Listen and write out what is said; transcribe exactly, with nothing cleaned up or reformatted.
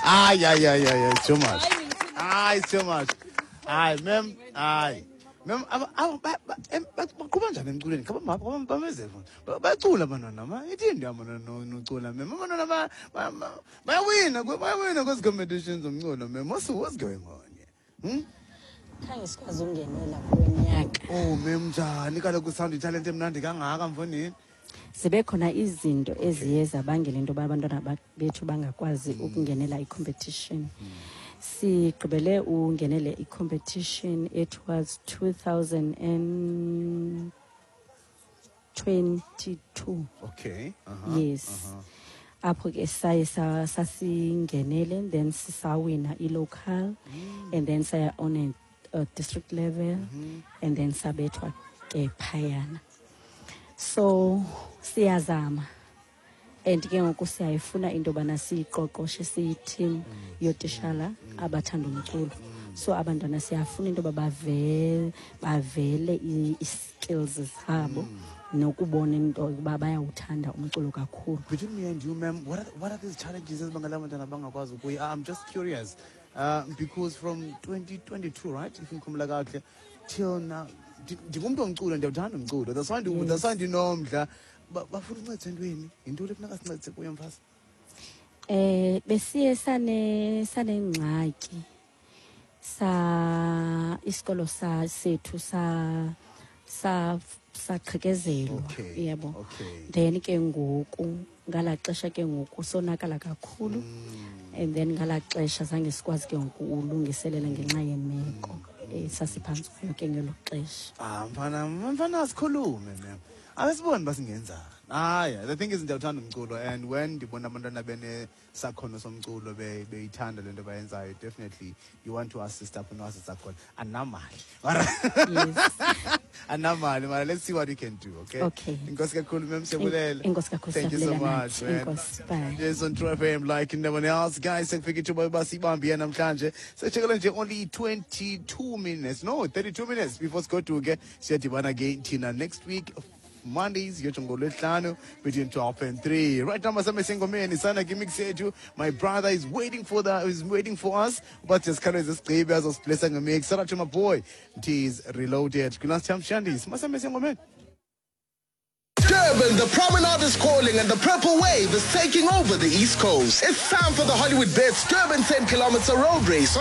Hayi, hayi, hayi, hayi, it's too much. Hayi, it's too much. Hayi, ma'am, hayi. Ma'am, aba- aba- ba- ba- em, ba- baqhuba njani emculweni? Kha bameze bayacula abantwana ma. Ithini into yabantwana no- nocula, ma'am? Abantwana ba- ba- ba- bayawina, bayawina kwezi competitions zomculo, ma'am. What's what's going on here? Hmm? Khange sikwazi ukungenela kulo nyaka. Oh, ma'am, njani kaloku sound italente emnandi kangaka, mfondini? Zibe khona izinto eziye zabangela into yoba abantwana ba- bethu bangakwazi ukungenela i-competition. Sigqibele ungenele i-competition, it was two thousand and twenty-two. Okay. Uh-huh. Yes, apho ke saye sa- sasingenele, then sisawina i-local and then saya on a, a district level and then sabethwa ke phayana. So siyazama and ke ngoku siyayifuna into yobana siyiqoqoshe siyi-team yootishala abathanda umculo. So abantwana siyafuna into yoba bavele bavele i- i-skills zabo nokubona into yokuba bayawuthanda umculo kakhulu. Between me and you, ma'am, what are, what are these challenges ezibangela abantwana bangakwazi ukuya? I'm just curious. Uh, because from twenty twenty-two, right, if ngikhumbula kakuhle, till now, ndi- ndingumntu womculo, ndiyawuthanda umculo. That's why ndi- that's why ndinomdla. Ba- Bafuna uncedisa entweni? Yintoni ekufuneka sincedise kuyo, mfazi? Eh besiye sane sanengxaki sa isikolo sa sethu sa sa saqhekezelwa. Okay, Yebo. okay. Then ke ngoku ngalaa xesha ke ngoku sonakala kakhulu and then ngalaa xesha zange sikwazi ke ngoku ulungiselela ngenxa yemeko eh, sasiphantsi kwayo ke ngelo xesha. Ah, mfana, mfana, asikhulume, ma'am. Awesibone uba singenzani. Hayi, the thing is ndiyawuthanda umculo and when ndibona abantwana benesakhono somculo, be- beyithanda le nto bayenzayo, definitely you want to assist apho no-assista khona. Andinamali. Yes. Andinamali, mara let's see what we can do, okay? Okay. Enkosi kakhulu, ma'am, siyabulela. Enkosi kakhulu. Thank you so Siyabulela much, nathi. man. Enkosi, bye. Yes, on True F M like no one else. Guys, sekufika ithuba uba sibambe namhlanje. Seshekele nje only twenty-two minutes. No, thirty-two minutes before sigoduke. Siyadibana again thina next week. Mondays, yotsho ngolwesihlanu between twelve and three. Right now, masame sengomeni sana mix yethu. My brother is waiting for the is waiting for us. But just khawuleze sigqibe azosiblessa ngemix. Shout out to my boy, T's Reloaded. Kulast time Shandis. Masame sengomeni. Durban, the Promenade is calling and the Purple Wave is taking over the East Coast. It's time for the Hollywoodbets Durban ten kilometer road race on